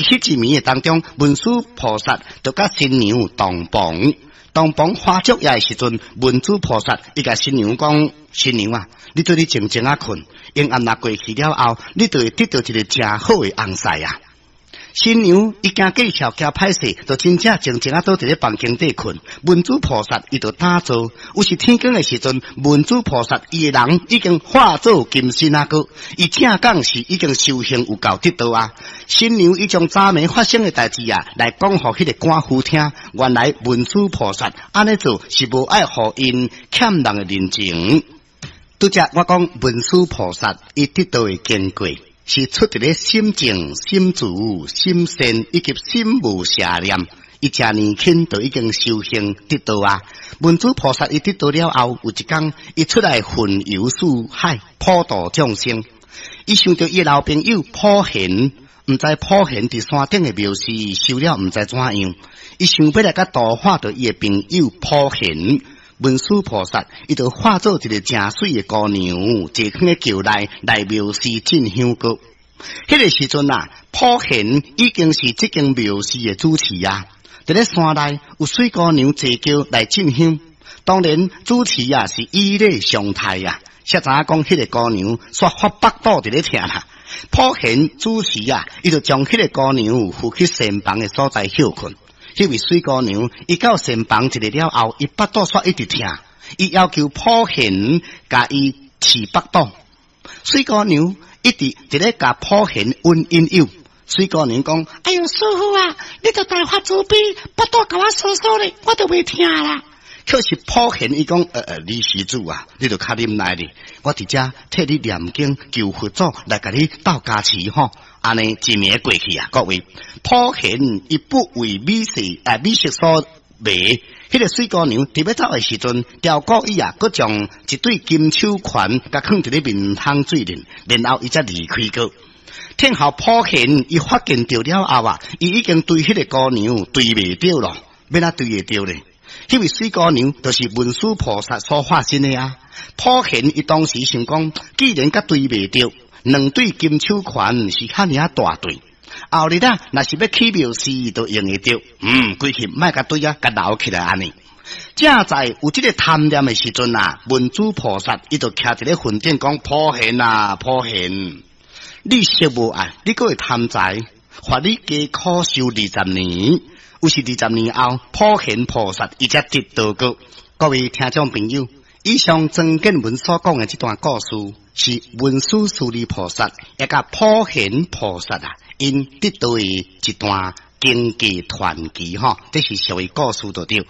佇彼一暝的當中，文殊菩薩就佮新娘洞房。洞房花燭夜的時陣，文殊菩薩伊共新娘講：新娘啊，你對你靜靜仔睏，陰暗若過去了後，你就會得著一个誠好的翁婿啊！新娘伊驚見笑驚歹勢，就真正靜靜仔倒佇咧房間底睏。文殊菩薩伊就打坐，有時天光的時陣，文殊菩薩伊的人已經化做金身啊閣，伊正講是已經修行有夠得道啊。新娘伊將昨暝發生的代誌啊，來講予彼个官夫聽。原來文殊菩薩按呢做是無愛予𪜶欠人的人情。拄才我講文殊菩薩伊得道的經過，是出佇咧心淨、心慈、心善以及心無邪念。伊誠年輕就已經修行得道啊！文殊菩薩伊得道了後，有一工伊出來雲遊四海，普度眾生。伊想著伊的老朋友普賢，毋知普賢佇山頂的廟寺修了毋知怎樣，伊想欲來共度化著伊的朋友普賢。文殊菩薩伊就化做一个誠媠的姑娘，坐囥咧轎內來廟寺進香閣。彼个時陣啊，普賢已經是這間廟寺的主持啊。佇咧山內有媠姑娘坐轎來進香，當然主持啊是以禮相待啊。才知影講彼个姑娘煞發腹肚佇咧疼啦。普賢主持啊，伊就將彼个姑娘扶去禪房的所在歇睏。彼位媠姑娘，伊到禪房一下了後，伊腹肚煞一直疼，伊要求普賢共伊揤腹肚。媠姑娘一直佇咧共普賢阮引誘。媠姑娘講：哎喲，師父啊，你著大發慈悲，腹肚共我挲挲咧，我就袂疼啦。可是普賢伊講：你施主啊，你著較忍耐咧，我佇遮替你念經求佛祖來共你鬥加持吼。按呢一暝過去啊，各位，普賢伊不為美色啊美色所迷，彼个媠姑娘佇欲走的時陣，刁故意啊，閣將一對金手環共囥佇咧面麭水裡，然後伊才離開閣。天後普賢伊發現著了後啊，伊已經追彼个姑娘追袂著咯，欲按怎追會著咧？彼位媠姑娘就是文殊菩薩所化身的啊。普賢伊當時想講，既然佮追袂著，兩對金手環是遐爾仔大對，後日啊，若是欲起廟寺，就用會著。規氣莫共對啊，共留起來按呢。正在有這个貪念的時陣啊，文殊菩薩伊就徛佇咧雲頂講：普賢啊，普賢，你色無愛，你閣會貪財，罰你加苦修20年。有是20年後，普賢菩薩伊才得道閣。各位聽眾朋友，以上曾建文所講的這段故事，是文殊師利菩薩也佮普賢菩薩啊，𪜶得道的一段經過傳奇吼，這是屬於故事就對。